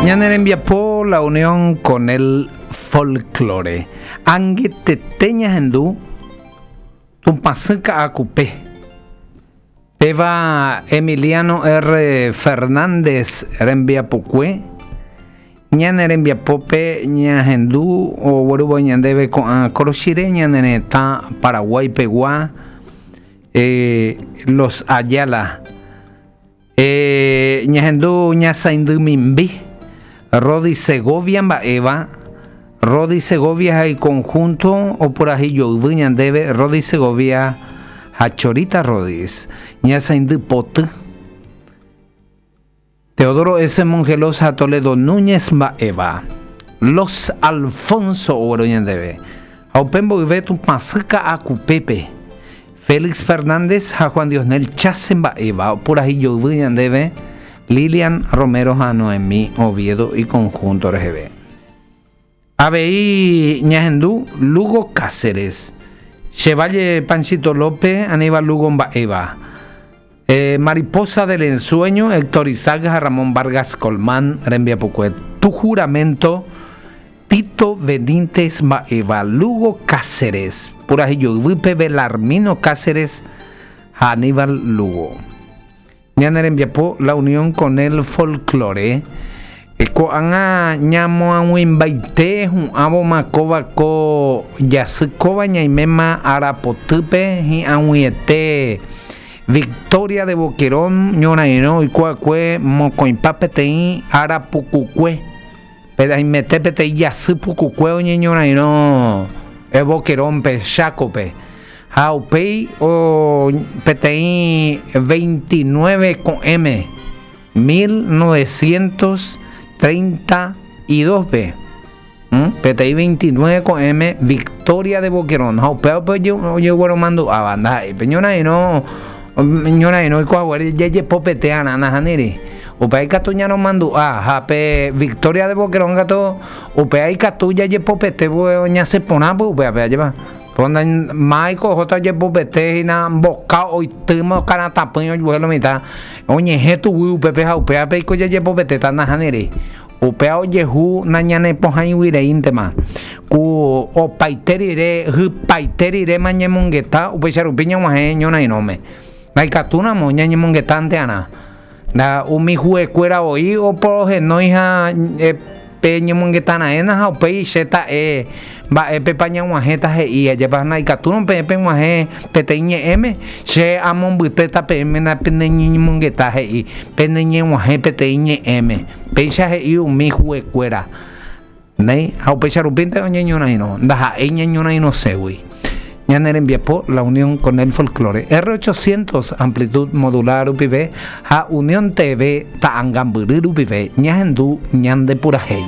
Ñane rembiapo La unión con el folklore. Angetete ñahendu Tupãsy Ka'akupe. Péva Emiliano R. Fernández rembiapokue. Ñane rembiapópe ñahendu oguerúva ñandéve ko'ã korochire ñane retã Paraguái pegua, Los Ayala. Ñahendu ñasaindy mimbi, Rody Segovia mba'éva, Rody Segovia ha iconjunto opurahéi joyvy ñandéve Rody Segovia ha Chorita Rodis, ñasaindy poty. Teodoro S. Mongelos ha Toledo Núñez mba'éva, Los Alfonso ogueru ñandéve, ha upe mboyve Tupãsy Ka'akupépe, Félix Fernández ha Juan Diosnel Chase mba'éva opurahéi joyvy ñandéve, Lilian Romero ha Noemí Oviedo iconjunto reheve. Avei ñahendu Lugo Cáceres, Che Valle Panchito López, Aníbal Lugo mba'éva, Mariposa del Ensueño, Héctor Isaac ha Ramón Vargas Colmán rembiapokue, Tu Juramento, Tito Benítez mba'éva, Lugo Cáceres, Purahéi Joyvýpe, Belarmino Cáceres ha Aníbal Lugo. Ñane rembiapo La unión con el folklore. Ko'ág̃a ñamoag̃uimbaite hu'ãvoma kóva ko jasy kóva ñaiméma ára potýpe hi'ag̃uiete Victoria de Boquerón ñorairõ oiko'akue mokõipa peteĩ ára pukukue. Pe aimete peteĩ jasy pukukue oñeñorairõ Boquerón-pe, Chákope. Ha upéi peteĩ 29 ko'ẽme 1932-pe, peteĩ 29 ko'ẽme Victoria de Boquerón, ha upéva upe ojegueromandu'áva, ndaha'éi pe ñorairõ, ñorairõ oiko haguére jajepopete arã nahániri, upéva ikatu ñaromandu'a, ha pe Victoria de Boquerón katu upéva ikatu jajepopete ñasẽ porã upévape, ajépa. Máiko ohóta ojepopete hína mboka oitýma okaratapỹi ojuehe lo mitã oñehẽ tuguy upépe ha upévape iko jajepopetéta nahániri. Upéva ojehu nañanepohãigui reíntema. Ku opaite rire, hypaite riréma ñemongeta upéicha rupi ñag̃uahẽ ñorairõme. Ndaikatúramo ñañemongetánte arã. Nda umi huekuéra voi oporohenói ha pe ñemongeta raẽna ha upéi che ta'e mba'épepa ñag̃uahẽta he'i, ajépa ndaikatúrõ peẽ peg̃uahẽ peteĩ ñe'ẽme, che amombytéta peẽme napeneñemongeta he'i, peneñeg̃uahẽ peteĩ ñe'ẽme. Péicha he'i umi huekuéra. Néi, ha upéicha rupínte oñeñorairõ, ndaha'éi ñañorairõségui. Ñane rembiapo La Unión con el Folklore, R800 amplitud modular rupive ha Unión TV ta'angambyry rupive ñahendu ñande purahéi.